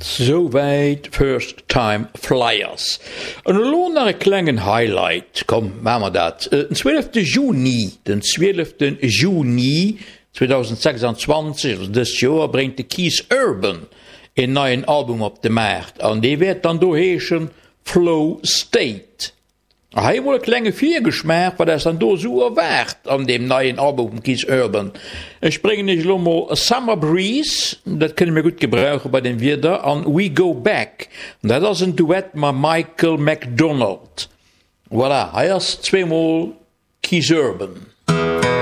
Souwäit First Time Flyers. An elo nach e klengen Highlight, komm maache mer dat, Den 12 Juni, den 12 Juni 2026, also dëst Joer, bréngt de Keith Urban een neien Album op de Maart an dee wäert dann do heeschen Flow State. A hei emol e klenge Virgeschmaach, wat eis dann do esou erwaart an deem neien Album vum Keith Urban. Ech bréngen iech elo mol Summer Breeze, dat kënne mir gutt gebrauche bei deem Wieder, an We Go Back, an dat ass en Duett mam Michael McDonald. Voilà, hei ass zweemol Keith Urban.